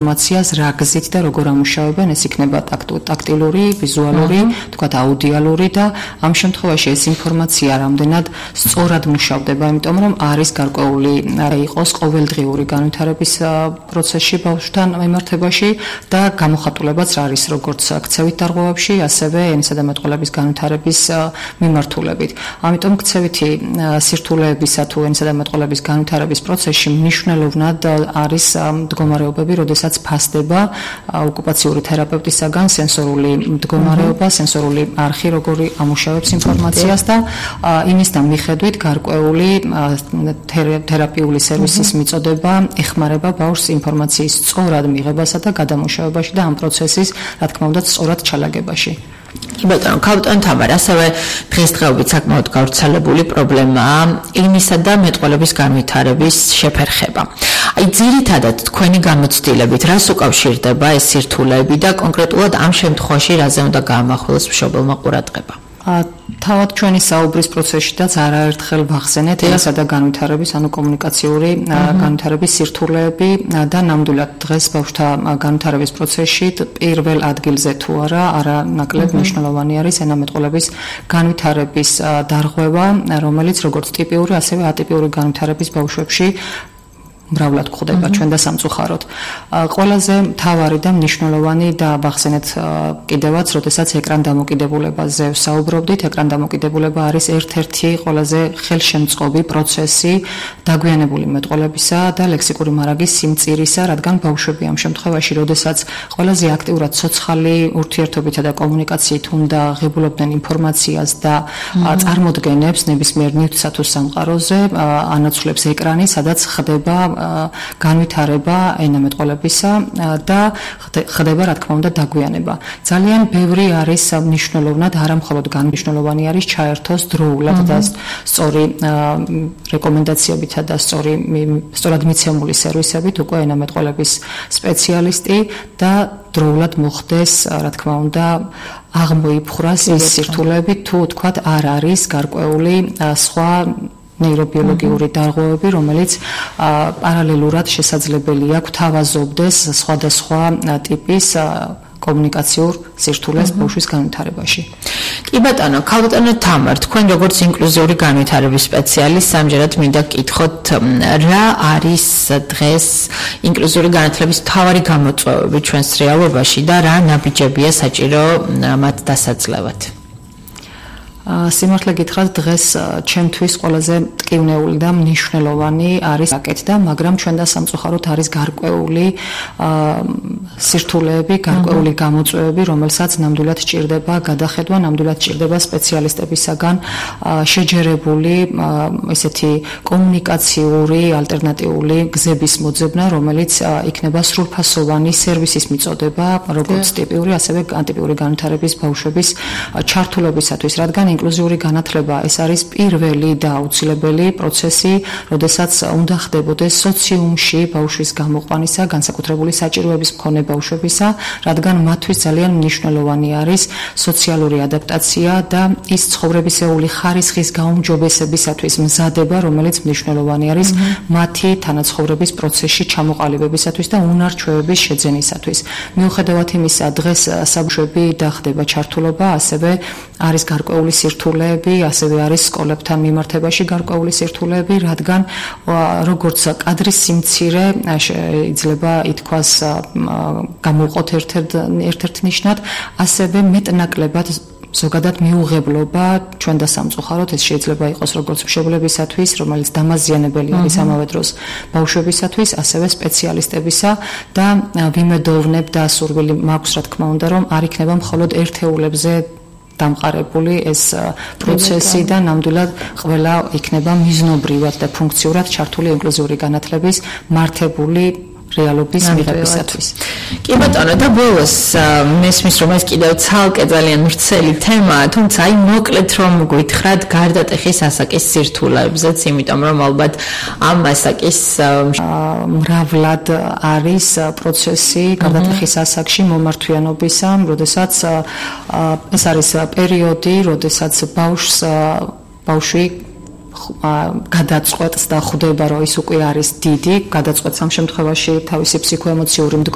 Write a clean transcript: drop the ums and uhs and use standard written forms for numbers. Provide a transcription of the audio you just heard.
ინფორმაციას რა გზით და როგორ ამუშავებენ, ეს იქნება ტაქტილური, ვიზუალური, თქვათ აუდიალური და ამ შემთხვევაში ეს ინფორმაცია რამდენად სწორად მუშავდება, იმიტომ რომ არის გარკვეული იყოს ყოველდღიური განვითარების პროცესში ბავშვთან მიმართებაში და გამოხატულებაც არის როგორც ქცევით დარღვევებში, ასევე ენისა და მეტყველების განვითარების მიმართულებით. ამიტომ ქცევითი სირთულეებისა თუ ენისა და მეტყველების განვითარების პროცესში მნიშვნელოვნად არის მდგომარეობები, როდესაც ფასდება ოკუპაციური თერაპევტისაგან სენსორული მდგომარეობა, სენსორული არხი, როგორი ამუშავებს ინფორმაციას და იმისთან მიხედვით გარკვეული თერაპიული სერვისის მიწოდება ეხმარება ბავშვს ინფორმაციის სწორად მიღებასა და გადამუშავებაში და ამ პროცესის, რა თქმა უნდა, სწორად ჩალაგებაში. ბატონო, კაპიტან თამარ, ასევე დღესდღეობით საკმაოდ გავრცელებული პრობლემაა ენისა და მეტყველების განვითარების შეფერხება. აი, ძირითადად თქვენი გამოცდილებით რას უკავშირდება ეს სირთულეები და კონკრეტულად ამ შემთხვევაში რაზე უნდა გაამახვილოს მშობელმა ყურადღება? თავად ჩვენი საუბრის პროცესშიდაც არაერთხელ ვახსენეთ ენისა და განვითარების, ანუ კომუნიკაციური განვითარების სირთულეები და ნამდვილად დღეს ბავშვთა განვითარების პროცესში პირველ ადგილზე თუ არა ნაკლებ მნიშვნელოვანი არის ენამეტყველების განვითარების დარღვევა, რომელიც როგორც ტიპიური, ასევე ატიპიური განვითარების ბავშვებში მრავლად გვხვდება ჩვენ და სამწუხაროდ. ყველაზე მთავარი და მნიშვნელოვანი და ვახსენეთ კიდევაც, როდესაც ეკრან დამოკიდებულებაზე ვსაუბრობდით, ეკრან დამოკიდებულება არის ერთ-ერთი ყველაზე ხელშემწყობი პროცესი დაგვიანებული მეტყველებისა და ლექსიკური მარაგის სიმწირისა, რადგან ბავშვები ამ შემთხვევაში, როდესაც ყველაზე აქტიურად ცოცხალი ურთიერთობითა და კომუნიკაციით უნდა ღებულობდნენ ინფორმაციას და წარმოდგენებს ნებისმიერ ნივთსა თუ სამყაროზე, ანაცვლებს ეკრანი, სადაც ხდება განვითარება ენამეტყველებისა და ხდება, რა თქმა უნდა, დაგვიანება. ძალიან ბევრი არის მნიშვნელოვნად, არა მხოლოდ განმნიშვნელოვანი არის ჩაერთოს დროულად და სწორი რეკომენდაციებითა და სწორად მიცემული სერვისებით უკვე ენამეტყველების სპეციალისტი და დროულად მოხდეს, რა თქმა უნდა, აღმოიფხვრას ეს სირთულეები, თუ თქვათ არ არის გარკვეული სხვა ნეირობიოლოგიური დარღვევები, რომელიც პარალელურად შესაძლებელია გვთავაზობდეს სხვადასხვა ტიპის კომუნიკაციურ სირთულეს ბავშვის განვითარებაში. კი ბატონო, კაპიტანო თამარ, თქვენ როგორც ინკლუზიური განვითარების სპეციალისტი, ამჯერად მინდა გკითხოთ, რა არის დღეს ინკლუზიური განათლების მთავარი გამოწვევები ჩვენს რეალობაში და რა ნაბიჯებია საჭირო მათ დასაძლევად? სიმართლე გითხრათ, დღეს ჩემთვის ყველაზე მტკივნეული და მნიშვნელოვანი არის აკეთდა, მაგრამ ჩვენ და სამწუხაროდ არის გარკვეული სირთულეები, გარკვეული გამოწვევები, რომელსაც ნამდვილად სჭირდება გადახედვა, ნამდვილად სჭირდება სპეციალისტებისაგან შეჯერებული ესეთი კომუნიკაციური ალტერნატიული გზების მოძებნა, რომელიც იქნება სრულფასოვანი სერვისის მიწოდება, როგორც ტიპიური, ასევე ანტიპიური განვითარების ბავშვების ჩართულობისათვის, რადგან ინკლუზიური განათლება ეს არის პირველი და აუცილებელი პროცესი, როდესაც უნდა ხდებოდეს სოციუმში ბავშვის გამოყვანისა, განსაკუთრებული საჭიროების მქონე ბავშვებისა, რადგან მათთვის ძალიან მნიშვნელოვანი არის სოციალური ადაპტაცია და ის ცხოვრებისეული ხარისხის გაუმჯობესებისათვის მზადება, რომელიც მნიშვნელოვანი არის მათი თანაცხოვრების პროცესში ჩამოყალიბებისათვის და უნარჩვევების შეძენისათვის. მიუხედავად იმისა, დღეს საბავშვები და ხდება ჩართულობა, ასევე არის გარკვეული სირთულეები, ასევე არის სკოლებთან მიმართებაში გარკვეული სირთულეები, რადგან როგორც კადრის სიმცირე შეიძლება ითქვას გამოვყოთ ერთ-ერთ ნიშნად, ასევე მეტნაკლებად ზოგადად მიუღებლობა ჩვენ და სამწუხაროდ ეს შეიძლება იყოს როგორც მშობლებისათვის, რომელიც დამაზიანებელი არის ამავე დროს ბავშვებისათვის, ასევე სპეციალისტებისა და ვიმედოვნებ და სურვილი მაქვს, რა თქმა უნდა, რომ არ იქნება მხოლოდ ერთეულებზე დამყარებული ეს პროცესი და ნამდვილად ყველა იქნება მიზნობრივად და ფუნქციურად ჩართული ინკლუზიური განათლების მართებული რეალობის მიღებისათვის. კი ბატონო, და ბოლოს მესმის რომ ეს კიდევ ცალკე ძალიან ვრცელი თემაა, თუმცა აი მოკლედ რომ გითხრათ გარდატეხის ასაკის სირთულეებზეც, იმიტომ რომ ალბათ ამ ასაკის მრავლად არის პროცესი გარდატეხის ასაკში მომართვიანობისა, როდესაც ეს არის პერიოდი, როდესაც ბავშვი გადაწყვეტს და ხვდება, რომ ის უკვე არის დიდი, გადაწყვეტს ამ შემთხვევაში თავისი ფსიქოემოციური